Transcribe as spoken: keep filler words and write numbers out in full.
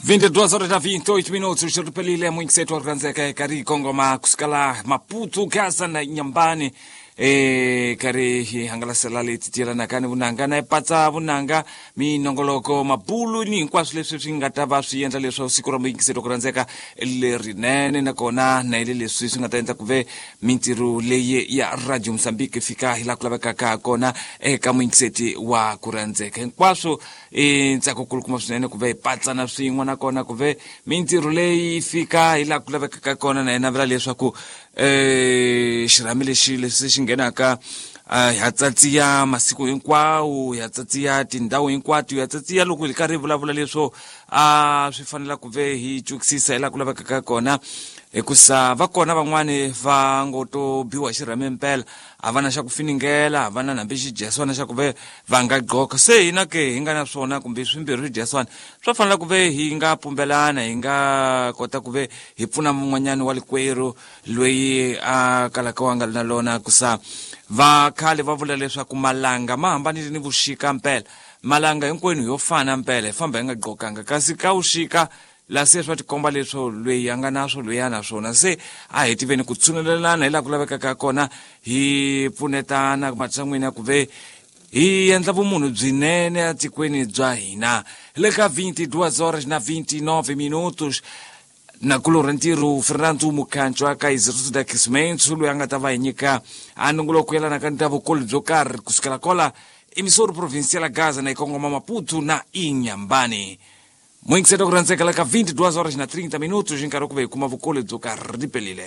vinte e duas horas na vinte e oito minutos, ripelile mwingisetu wakuranzeka kari kongoma kusikala Maputo, Gaza na Inhambane. E kari hangalasela leti tielanaka ni vunanga na epatsa vunanga minongoloko mabulu ni hinkwaswo leswi swi nga ta va swi endla leswaku siku ra muyingiseri ku rhandzeka lerinene, nakona na ile leswi swi nga ta endla ku ve mintirho leyi ya Radio Mozambique fika hi laha ku lavekaka kona eka muyingiseti wa ku rhandzeka. Hinkwaswo i ntsako kulukumba swinene ku ve hi patsana swin'we, nakona ku ve mintirho leyi fika hi laha ku lavekaka kona, na yena vula leswaku eh xirhami lexi lexi xi nghenaka ha tsatsiya masiku hinkwawo, ya tsatsiya tindhawu hinkwato, ya tsatsiya loko hi karhi hi vulavula leswo a swi fanela ku ve hi twisisa hi laha ku lavekaka kona, hikusa va kona van'wani va ngo to biwa hi xirhami mpela, a va na xa ku finingela, a va na hambi xidyeswana xa ku ve va nga gqoka. Se hina ke hi nga na swona kumbe swimbirhi swidyeswana swa fanela ku ve hi nga pumbelana, hi nga kota ku ve hi pfuna mun'wanyani wa likwerhu loyi a kalaka wa nga ri na lona. Kusa va khale va vula leswaku malanga ma hambanile ni vuxika mpela, malanga hinkwenu yo fana mpela, hi famba hi nga gqokanga, kasi ka vuxika la se swa tikomba leswo loyi a nga na swo loyi a na swona. Se a hi tiveni ku tshunelelana hi laha ku lavekaka kona, hi pfunetana matshan'wini ya ku ve hi endla vumunhu byinene etikweni bya hina. Le ka vinte e duas horas na vinte e nove minutos, na kulorha ntirho Fernando Mukhancho aka Instituto de Aquecimento loyi a nga ta va hi nyika a nongoloko yelanaka ni ta vukulu byo karhi kusukela kola emissora provincial Gaza na ikongoma Maputo na Inhambane. Mwingiseta ku rhandzeka la ka vinte e duas horas na trinta minutos, nkarhi ku ve hi kuma vukulu byo karhi ripelile.